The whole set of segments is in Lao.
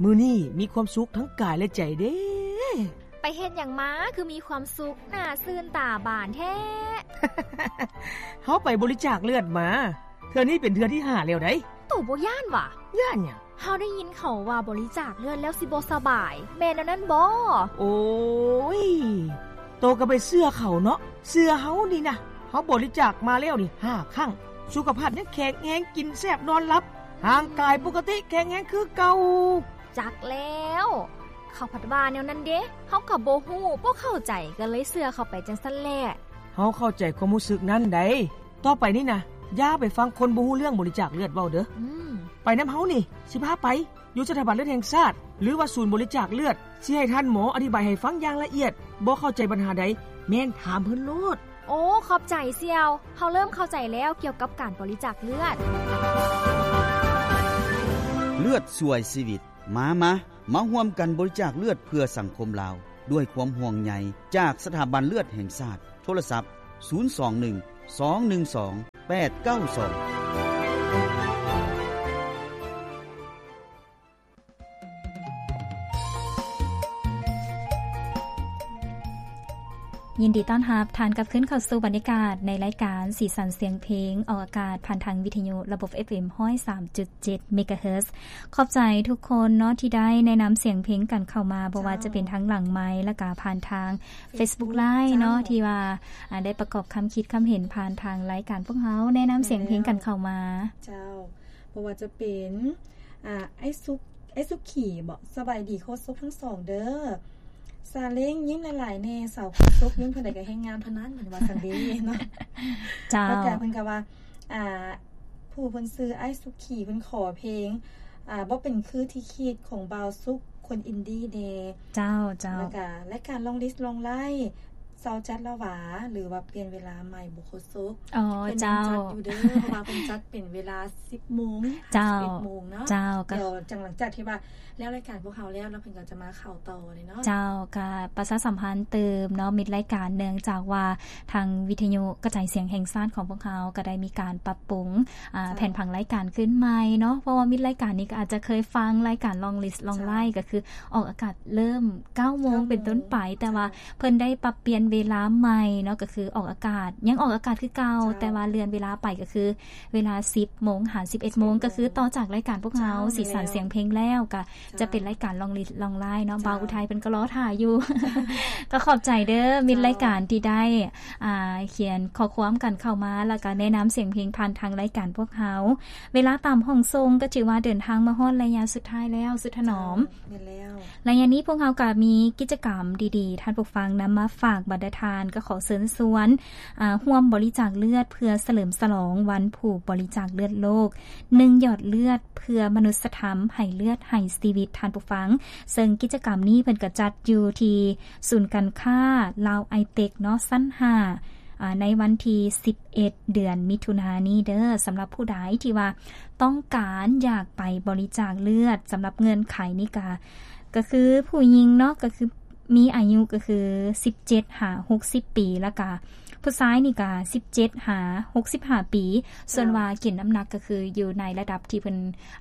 ມື້ນີ້ມີຄວາມສຸກທັງກາຍ ແລະ ໃຈເດ້. ໄປເຮັດຫຍັງມາ ຄືມີຄວາມສຸກ ໜ້າຊື່ນຕາບານແທ້? ເຮົາໄປບໍລິຈາກເລືອດມາ. ເທື່ອນີ້ເປັນເທື່ອທີຫ້າແລ້ວໃດ໋. ໂຕບໍ່ຢ້ານຫວາ? ຢ້ານຫຍັງ? ເຮົາໄດ້ຍິນເຂົາວ່າບໍລິຈາກເລືອດແລ້ວຊິບໍ່ສະບາຍ, ແມ່ນແນວນັ້ນບໍ່? ໂອ້ຍ, ໂຕກໍໄປເຊື່ອເຂົາເນາະ. ເຊື່ອເຮົານີ້ນະ, ເຮົາບໍລິຈາກມາແລ້ວນີ້ຫ້າຄັ້ງ, ສຸຂະພາບຍັງແຂງແຮງ, ກິນແຊບ, ນອນຫຼັບ, ຮ່າງກາຍປົກກະຕິ, ແຂງແຮງຄືເກົ່າ. ຈັກແລ້ວ, ເຂົາພັດວ່າແນວນັ້ນເດ. ເຮົາກໍບໍ່ຮູ້, ບໍ່ເຂົ້າໃຈ, ກໍເລີຍເຊື່ອເຂົາໄປຈັ່ງຊັ້ນແຫຼະ. ເຮົາເຂົ້າໃຈຄວາມຮູ້ສຶກນັ້ນໃດ໋. ຕໍ່ໄປນີ້ນະ, ຢ່າໄປຟັງຄົນບໍ່ຮູ້ເລື່ອງບໍລິຈາກເລືອດເວົ້າເດີ້. ອືມ. ໄປນຳເຮົານີ້, ຊິພາໄປ. ຢູ່ສະຖາບັນເລືອດແຫ່ງຊາດ ຫຼືວ່າສູນບໍລິຈາກເລືອດ, ຊິໃຫ້ທ່ານໝໍອະທິບາຍໃຫ້ຟັງຢ່າງລະອຽດ. ບໍ່ເຂົ້າໃຈບັນຫາໃດ, ແມ່ນຖາມເພິ່ນໂລດ. ໂອ້, ຂອບໃຈສ່ຽວ. ເຮົາເລີ່ມເຂົ້າໃຈແລ້ວກ່ຽວກັບການບໍລິຈາກເລືອດ. ເລືອດຊ່ວຍຊີວິດ. ມາ, ມາ, ມາຮ່ວມກັນບໍລິຈາກເລືອດເພື່ອສັງຄົມລາວ ດ້ວຍຄວາມຫ່ວງໃຍຈາກສະຖາບັນເລືອດແຫ່ງຊາດ. ໂທລະສັບ ສູນສອງໜຶ່ງ ສອງໜຶ່ງສອງ ແປດເກົ້າສອງ. ຍິນດີຕ້ອນຮັບທ່ານກັບຄືນເຂົ້າສູ່ບັນຍາກາດໃນລາຍການສີສັນສຽງເພງ, ອອກອາກາດຜ່ານທາງວິທະຍຸລະບົບ ເອັຟເອັມ ຮ້ອຍສາມຈຸດເຈັດ ເມກາເຮີດ. ຂອບໃຈທຸກຄົນເນາະ ທີ່ໄດ້ແນະນຳສຽງເພງກັນເຂົ້າມາ, ບໍ່ວ່າຈະເປັນທາງຫຼັງໄມ ແລ້ວກະຜ່ານທາງ Facebook Live ເນາະ ທີ່ວ່າ ອາ ໄດ້ປະກອບຄຳຄິດຄຳເຫັນຜ່ານທາງລາຍການພວກເຮົາ, ແນະນຳສຽງເພງກັນເຂົ້າມາ. ເຈົ້າ. ບໍ່ວ່າຈະເປັນ ອາ ອ້າຍສຸກ ອ້າຍສຸກຂີບໍ? ສະບາຍດີໂຄສົກທັງສອງເດີ້. ຊາເລ້ງ ຍິ້ມຫຼາຍໆແນ່, ສາວໂຄສົກຍິ້ມເທົ່າໃດກໍແຮງງາມເທົ່ານັ້ນ, ເພິ່ນວ່າຊັ້ນເດ້ເນາະ. ເຈົ້າ. ແລ້ວກໍເພິ່ນກໍວ່າ ອາ ຜູ້ເພິ່ນຊື່ອ້າຍສຸກຂີ ເພິ່ນຂໍເພງ ອາ ບໍ່ເປັນຄືທີ່ຄິດ ຂອງບ່າວສຸກ ຄົນອິນດີແດ່. ເຈົ້າ, ເຈົ້າ. ແລ້ວກະລາຍການລອງລິດລອງໄລ່ ເຊົາຈັດລະຫວາ ຫຼືວ່າປ່ຽນເວລາໃໝ່ບໍ່ໂຄສົກ? ອໍ ເຈົ້າ. ເພິ່ນຍັງຈັດຢູ່ເດີ້ ເພາະວ່າເພິ່ນຈັດເປັນເວລາສິບໂມງ ເຈົ້າ ຫາສິບເອັດໂມງເນາະ. ເຈົ້າ. ກໍດຽວຈັ່ງຫຼັງຈາກທີ່ວ່າແລ້ວລາຍການພວກເຮົາແລ້ວເນາະ ເພິ່ນກໍຈະມາເຂົ້າຕໍ່ເລີຍເນາະ. ເຈົ້າ. ກໍປະຊາສຳພັນຕື່ມເນາະ ມິດລາຍການ, ເນື່ອງຈາກວ່າທາງວິທະຍຸກະຈາຍສຽງແຫ່ງຊາດຂອງພວກເຮົາກໍໄດ້ມີການປັບປຸງ ອາ ເຈົ້າ ແຜນຜັງລາຍການຂຶ້ນໃໝ່ເນາະ, ເພາະວ່າມິດລາຍການນີ້ກໍອາດຈະເຄີຍຟັງລາຍການລອງລິດລອງໄລ່ ເຈົ້າ ກໍຄືອອກອາກາດເລີ່ມເກົ້າໂມງ ເກົ້າໂມງເປັນຕົ້ນໄປ, ແຕ່ວ່າ ເຈົ້າ ເພິ່ນໄດ້ປັບປ່ຽນເວລາໃໝ່ເນາະ, ກໍຄືອອກອາກາດ ຍັງອອກອາກາດຄືເກົ່າ, ເຈົ້າ ແຕ່ວ່າເລື່ອນເວລາໄປກໍຄືເວລາສິບໂມງຫາສິບເອັດໂມງ ສິບເອັດໂມງ ກໍຄືຕໍ່ຈາກລາຍການພວກເຮົາ ເຈົ້າ ສີສັນ ແມ່ນແລ້ວ ສຽງເພງແລ້ວ ກໍ ເຈົ້າ ຈະເປັນລາຍການລອງລິດລອງໄລ່ເນາະ. ເຈົ້າ ບ່າວອຸໄທເພິ່ນກໍລໍຖ້າຢູ່. ເຈົ້າ ກໍຂອບໃຈເດີ້ ມິດລາຍການທີ່ໄດ້ ອ່າ ຂຽນຂໍ້ຄວາມກັນເຂົ້າມາ ແລ້ວກໍແນະນຳສຽງເພງຜ່ານທາງລາຍການພວກເຮົາ. ເວລາຕາມຫ້ອງສົ່ງກໍຖືວ່າເດີນທາງມາຮອດໄລຍະສຸດທ້າຍແລ້ວ ສຸດຖະໜອມ. ເຈົ້າ ແມ່ນແລ້ວ. ໄລຍະນີ້ພວກເຮົາກໍມີກິດຈະກຳດີໆ ທ່ານຜູ້ຟັງນຳມາຝາກບັນດາທ່ານ, ກໍຂໍເຊີນຊວນ ອາ ຮ່ວມບໍລິຈາກເລືອດເພື່ອສະເຫຼີມສະຫຼອງວັນຜູ້ບໍລິຈາກເລືອດໂລກ ໜຶ່ງຢອດເລືອດເພື່ອມະນຸດສະທຳ ໃຫ້ເລືອດໃຫ້ຊີວິດ ທ່ານຜູ້ຟັງ. ເຊິ່ງກິດຈະກຳນີ້ເພິ່ນກໍຈັດຢູ່ທີ່ສູນການຄ້າລາວໄອເຕັກເນາະ ຊັ້ນຫ້າ ອາ ໃນວັນທີສິບເອັດ ເດືອນມິຖຸນານີ້ເດີ້. ສຳລັບຜູ້ໃດທີ່ວ່າຕ້ອງການຢາກໄປບໍລິຈາກເລືອດ, ສຳລັບເງື່ອນໄຂນີ້ກະ ກໍຄືຜູ້ຍິງເນາະ ກໍຄືມີອາຍຸກໍຄືສິບເຈັດຫາຫົກສິບປີ, ແລ້ວກະຜູ້ຊາຍນີ້ກະສິບເຈັດຫາຫົກສິບຫ້າປີ. ສ່ວນວ່າກິນນ້ຳໜັກກໍຄືຢູ່ໃນລະດັບທີ່ເພິ່ນ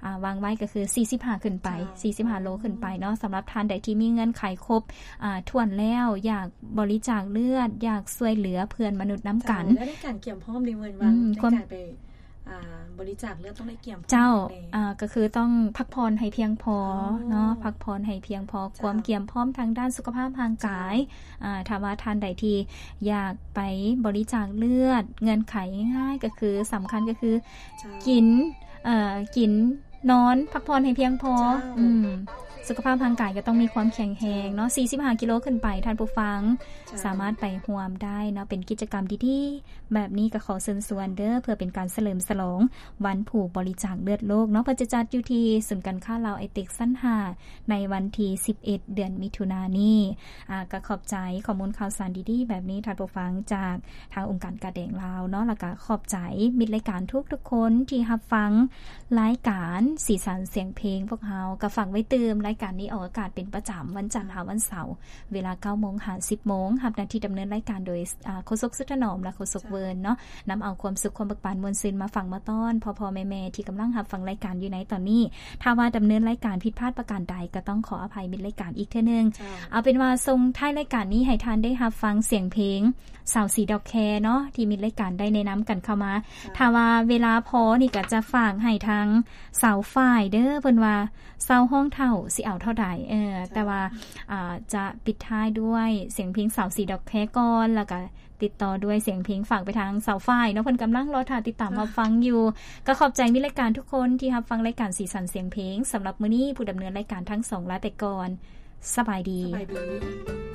ອາ ວາງໄວ້ກໍຄືສີ່ສິບຫ້າຂຶ້ນໄປ ເຈົ້າ ສີ່ສິບຫ້າໂລຂຶ້ນໄປເນາະ. ສຳລັບທ່ານໃດທີ່ມີເງື່ອນໄຂຄົບ ອາ ຖ້ວນແລ້ວ ຢາກບໍລິຈາກເລືອດ ຢາກຊ່ວຍເຫຼືອເພື່ອນມະນຸດນຳກັນ. ເຈົ້າ. ແລ້ວໃນການກຽມພ້ອມນີ້ເພິ່ນວ່າ ອືມ ໃນການໄປ ອ່າ ບໍລິຈາກເລືອດຕ້ອງໄດ້ກຽມພ້ອມ ເຈົ້າ ແນ່ ອາ ກໍຄືຕ້ອງພັກຜ່ອນໃຫ້ພຽງພໍ ອໍ ເນາະ ພັກຜ່ອນໃຫ້ພຽງພໍ ເຈົ້າ ຄວາມກຽມພ້ອມທາງດ້ານສຸຂະພາບຮ່າງກາຍ. ເຈົ້າ. ອາ ຖ້າວ່າທ່ານໃດທີ່ຢາກໄປບໍລິຈາກເລືອດ ເງື່ອນໄຂງ່າຍໆ ກໍຄືສຳຄັນກໍຄື ເຈົ້າ ກິນ ເອີ ກິນ ນອນ ພັກຜ່ອນໃຫ້ພຽງພໍ. ເຈົ້າ. ອືມ ສຸຂະພາບຮ່າງກາຍກໍຕ້ອງມີຄວາມແຂງແຮງເນາະ ເຈົ້າ ສີ່ສິບຫ້າກິໂລຂຶ້ນໄປ ທ່ານຜູ້ຟັງ ເຈົ້າ ສາມາດໄປຮ່ວມໄດ້ເນາະ. ເປັນກິດຈະກຳດີໆແບບນີ້ ກໍຂໍເຊີນຊວນເດີ້ ເພື່ອເປັນການສະເຫຼີມສະຫຼອງວັນຜູ້ບໍລິຈາກເລືອດໂລກເນາະ. ເພິ່ນຈະຈັດຢູ່ທີ່ສູນການຄ້າລາວໄອເຕັກ ຊັ້ນຫ້າ ໃນວັນທີສິບເອັດ ເດືອນມິຖຸນານີ້. ອາ ກໍຂອບໃຈຂໍ້ມູນຂ່າວສານດີໆແບບນີ້ ທ່ານຜູ້ຟັງ ຈາກ ທາງອົງການກາແດງລາວເນາະ ແລ້ວກະຂອບໃຈມິດລາຍການທຸກໆຄົນທີ່ຮັບຟັງລາຍການສີສັນສຽງເພງພວກເຮົາ. ກະຝາກໄວ້ຕື່ມລາຍ ການນີ້ອອກອາກາດເປັນປະຈຳວັນຈັນຫາວັນເສົາ ເວລາເກົ້າໂມງຫາສິບໂມງ ຮັບໜ້າທີ່ດຳເນີນລາຍການໂດຍ ອາ ໂຄສົກສຸດຖະໜອມ ແລະ ໂຄສົກເວີນເນາະ ນຳເອົາຄວາມສຸກ ຄວາມເບີກບານມ່ວນຊື່ນມາຝາກມາຕ້ອນພໍ່ໆແມ່ໆທີ່ກຳລັງຮັບຟັງລາຍການຢູ່ໃນຕອນນີ້. ຖ້າວ່າດຳເນີນລາຍການຜິດພາດປະການໃດ ກໍຕ້ອງຂໍອະໄພມິດລາຍການອີກເທື່ອໜຶ່ງ. ເຈົ້າ. ເອົາເປັນວ່າສົ່ງທ້າຍລາຍການນີ້ໃຫ້ທ່ານໄດ້ຮັບຟັງສຽງເພງ ຊາວສີ່ດອກແຄເນາະ ທີ່ມິດລາຍການໄດ້ແນະນຳກັນເຂົ້າມາ. ເຈົ້າ. ຖ້າວ່າເວລາພໍນີ້ກໍຈະຝາກໃຫ້ທາງຊາວຝ້າຍເດີ ເພິ່ນວ່າຊາວຮ້ອງເຖົ້າຊິເອົາເທົ່າໃດ ເອີ ເຈົ້າ. ແຕ່ວ່າ ອາ ຈະປິດທ້າຍດ້ວຍສຽງເພງຊາວສີ່ດອກແຄກ່ອນ ແລ້ວກໍຕິດຕໍ່ດ້ວຍສຽງເພງ ຝາກໄປທາງຊາວຝ້າຍເນາະ ເພິ່ນກຳລັງລໍຖ້າຕິດຕາມ ເຈົ້າ. ຮັບຟັງຢູ່. ກໍຂອບໃຈມິດລາຍການທຸກຄົນທີ່ຮັບຟັງລາຍການສີສັນສຽງເພງ. ສຳລັບມື້ນີ້ ຜູ້ດຳເນີນລາຍການທັງສອງລາໄປກ່ອນ. ສະບາຍດີ. ສະບາຍດີ.